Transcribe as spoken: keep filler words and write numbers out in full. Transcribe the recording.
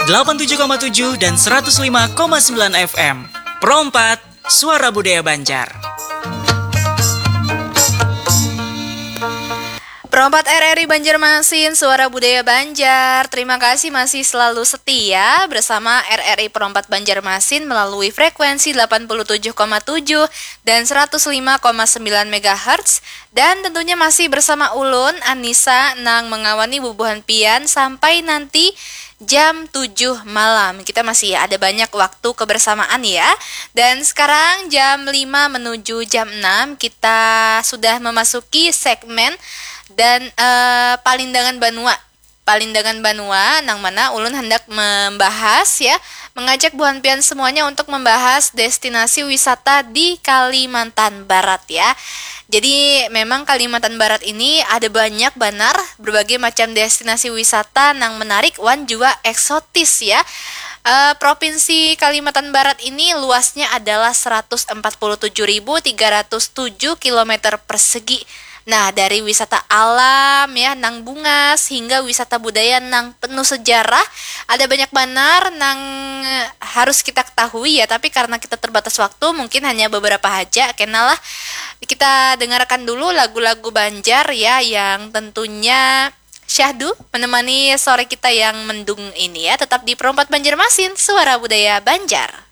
delapan tujuh koma tujuh dan seratus lima koma sembilan F M. Pro empat, Suara Budaya Banjar. Pro empat R R I Banjarmasin, Suara Budaya Banjar. Terima kasih masih selalu setia bersama R R I Pro empat Banjarmasin melalui frekuensi delapan puluh tujuh koma tujuh dan seratus lima koma sembilan megahertz. Dan tentunya masih bersama ulun, Anissa, nang mengawani bubuhan pian sampai nanti jam tujuh malam. Kita masih ada banyak waktu kebersamaan ya. Dan sekarang jam lima menuju jam enam, kita sudah memasuki segmen dan eh, palindangan banua. Palindangan banua nang mana ulun hendak membahas ya, mengajak buhan pian semuanya untuk membahas destinasi wisata di Kalimantan Barat ya. Jadi memang Kalimantan Barat ini ada banyak banar berbagai macam destinasi wisata nang menarik wan jua eksotis ya. Eh, Provinsi Kalimantan Barat ini luasnya adalah seratus empat puluh tujuh ribu tiga ratus tujuh kilometer persegi. Nah, dari wisata alam ya nang bungas hingga wisata budaya nang penuh sejarah, ada banyak banar nang harus kita ketahui ya, tapi karena kita terbatas waktu, mungkin hanya beberapa haja. Kenalah, kita dengarkan dulu lagu-lagu Banjar ya, yang tentunya syahdu menemani sore kita yang mendung ini ya. Tetap di Pro empat Banjarmasin, Suara Budaya Banjar.